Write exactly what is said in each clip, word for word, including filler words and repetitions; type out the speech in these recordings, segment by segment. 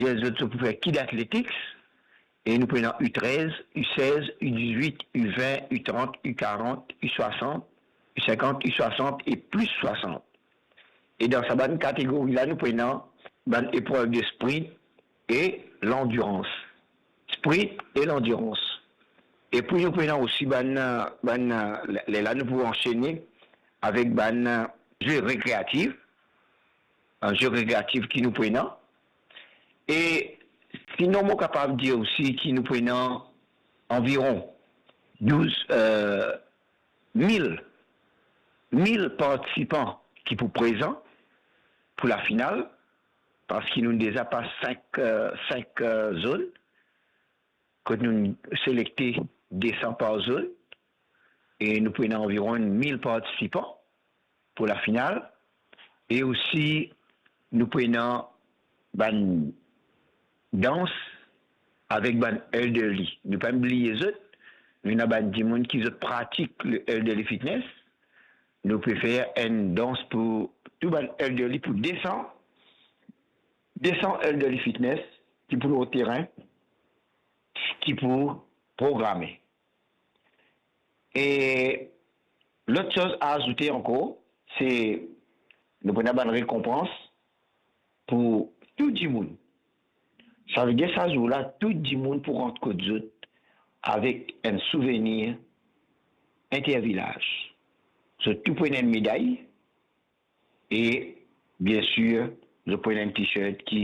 Zot, zot pou fer kid athletics, e nou pou ena U trez, U sez, U dizwit, U vin, U trant, U karant, U swasant, U sinkant, U swasant e plis swasant. E dan sa bann kategori la, nou pou ena bann eprev de sprint e landirans. Sprint e landirans. Epi nou pou ena osi bann, bann, lerla nou pou ansene avek bann ze rekreatif, bann ze rekreatif ki nou pou ena. E sinon, mo kapav dir osi ki nou pou ena anviron douz, eh, mil, mil partisipan ki pou prezan pou lafinal, parski nou deza pas sink, eh, sink, eh, zone, kot nou selekte de san par zone, e nou pou ena anviron mil partisipan pou lafinal, e osi nou pou ena bann dans avek bann elderly. Nou pa bliye zot, nou ena bann dimoun ki zot pratik le elderly fitness. Nou pe fer enn dans pou tou bann elderly, pou de san, de san elderly fitness ki pou lor terin, ki pou programe. E lot soz a azoute ankor, se nou pou ena bann rekonpans pou tou dimoun. Savedir sa zour la, tou dimoun pou rant kot zot avek enn souvenir intervilaz. Zot tou pou ena enn meday e, biensir, zot pou ena enn t-shirt ki,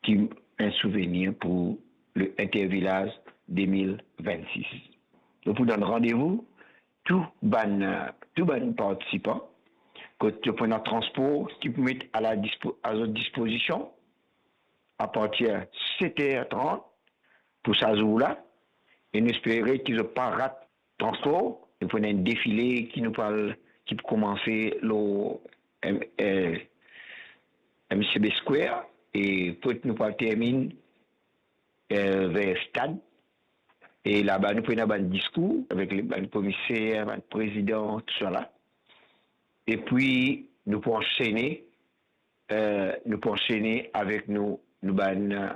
ki enn souvenir pou le Intervilaz de mil vennsis. Nou pou donn randevou tou bann, tou bann partisipan, kot zot pou ena transpor ki pou met a la dispo-, a zot dispozision apartir set er trant pou sa zour la, e nou espere ki zot pa rat transpor. Nou pou ena enn defile ki nou pral, ki pou koumanse lor, em, eh, M C B Square, e kot nou pral terminn, eh, ver stad. E laba nou pou ena bann diskour avek le, bann komiser, bann prezidan, tousala. Epi nou pou ansene, eh, nou pou ansene avek nou, nou bann, eh,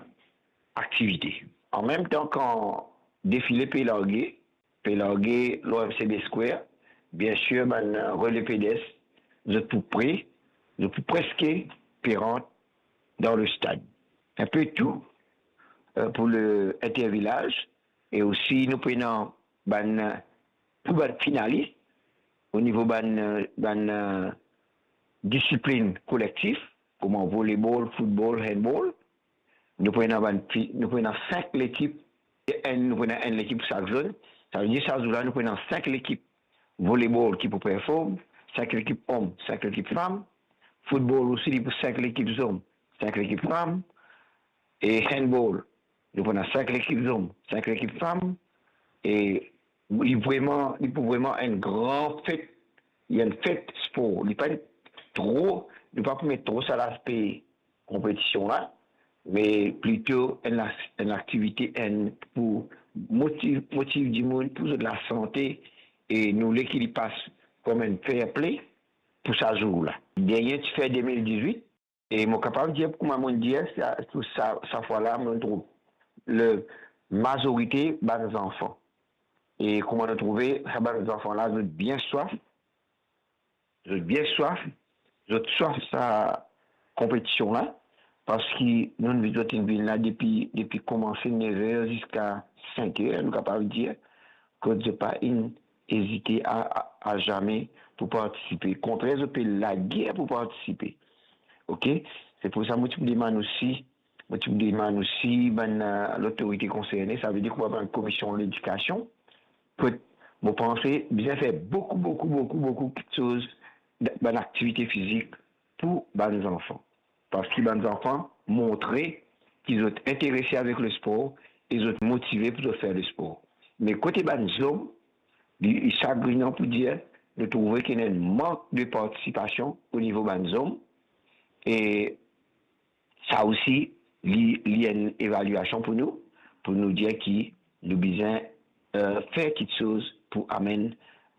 aktivite. An mem tan kan defile pe large, pe large lor M C B Square, biensir, bann, eh, rele pedest, zot pou pre, zot pou preske pe rant dan le stad. Enpe tou, eh, pou le intervilaz, e osi nou pou ena bann, eh, tou bann finalis, o nivo bann, eh, bann, eh, disiplin kolektif, kouma volebol, foutbol, handball. Nou pou ena bann fi-, nou pou ena sink lekip, e enn, nou pou ena enn lekip sak zone. Savedir sa zour la, nou pou ena sink lekip volebol ki pou perform, sink lekip om, sink lekip fam. Foutbol osi, li pou sink lekip zom, sink lekip fam. E handball, nou pou ena sink lekip zom, sink lekip fam. E li vreman, li pou vreman enn gran fet, li enn fet spor. Li pa tro, nou pa pou met tro sa laspe konpetision la, me plito enn la-, enn aktivite, enn pou motiv, motiv dimoun, pou zot lasante, e nou le ki li pas kom enn fair play pou sa zour la. Dernie ti fer de mil dizwit, e mo kapav dir, kouma mo dir, sa, sa, sa fwa la, mo trouv le mazorite bann zanfan. E kouma nou trouve, sa bann zanfan la, zot bien swaf, zot bien swaf, zot swaf sa konpetision la, parski nou, zot inn vinn la depi, depi koumanse nev er ziska sink er, nou kapav dir, kot zot pa inn ezite a, a, a zame pou partisipe. Kontrer, zot pe lager pou partisipe. Oke? Se pou sa mo ti pou demann osi, mo ti pou demann osi bann, eh, lotorite konserne, savedir kouma bann komisyon ledikasion, kot mo panse bizin fer boukou, boukou, boukou, boukou kiksoz, bann aktivite fizik pou bann zanfan. Parski bann zanfan montre ki zot interese avek lespor e zot motive pou zot fer lespor. Me kote bann zom, li, li sagrinan pou dir, nou trouve ki ena enn mank de partisipasion o nivo bann zom, e sa osi, li, li enn evalyasion pou nou, pou nou dir ki nou bizin, eh, fer kiksoz pou amenn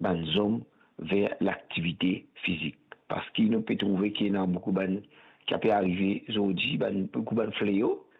bann zom ver laktivite fizik. Parski nou pe trouve ki ena boukou bann, ki ape arive zordi, bann, boukou bann fleo,